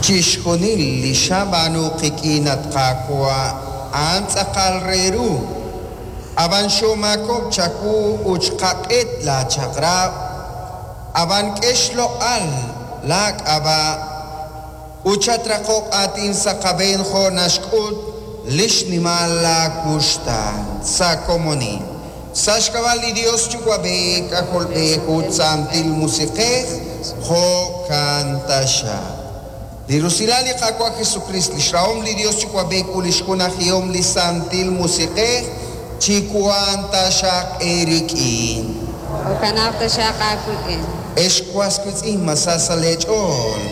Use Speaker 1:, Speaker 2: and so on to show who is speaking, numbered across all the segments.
Speaker 1: Chixjunil li xab'aanu qik'in, at Qaawa', a'an tz'aqal re ru. Ab'an xoomaakob'k chawu ut xqaq'et laachaq'rab'. Ab'an k'e xloq'al laak'ab'a' ut chatraqoq aatin sa' qab'een jo' naxk'ut li xnimal laawuxtaan. Sa' komonil. Sa' xk'ab'a' li Yos Yuwa'b'ej, K'ajolb'ej ut Santil Musiq'ej, jo'kan taxaq. Li rusilal li Qaawa' Jesukriist, li xrahom li Yos Yuwa'b'ej ut li xjunajihom li Santil Musiq'ej chiwanq taxaq eerik'in.
Speaker 2: Jo'kanaq taxaq aawik'in.
Speaker 1: Ex was wiitz'in, ma sa sa' leech'ool?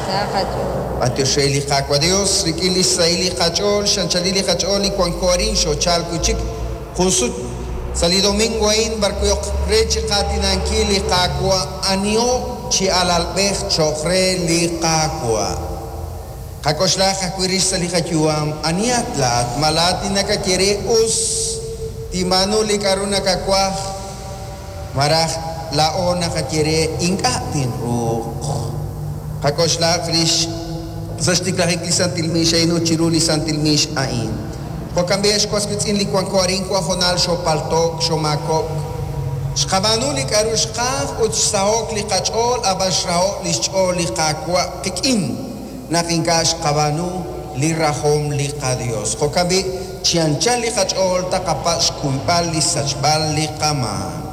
Speaker 2: Sa qach'ool.
Speaker 1: B'antiox re li Qaawa' Dios, rik'in lix sahil li qach'ool, x'anchalil li qach'ool li wanko arin, xoochal wi' chik jun sut sa' li domingo a'in b'ar wi' ok re chi qaatinankil li Qaawa' aniho chi alalb'ej cho'q re li Qaawa'. Qak'oxlaq ajwi' rix sa' li qayu'am, anihat laa'at? Ma laa'at li nakaye re, Us, tinb'aanu li k'a'ru nakawaj? Malaj laa'o naqaye re, Ink'a' tinruuq? Qak'oxlaq rix sa' xtiklajik li santil miix a'in ut chiru li santil miix a'in. Jo'kan b'i' ex was wiitz'in li wanko arin wan hoonal xoopalto'k, xoomaakob'k. Xqab'aanu li k'a'ru xqaj ut xsaho'k li qach'ool ab'an xraho'k li xch'ool li Qaawa' qik'in naq ink'a' xqab'aanu li rajom li qaDios. Jo'kan b'i', chi anchal li qach'ool taqapatz' xkuyb'al li xsachb'al li qamaak.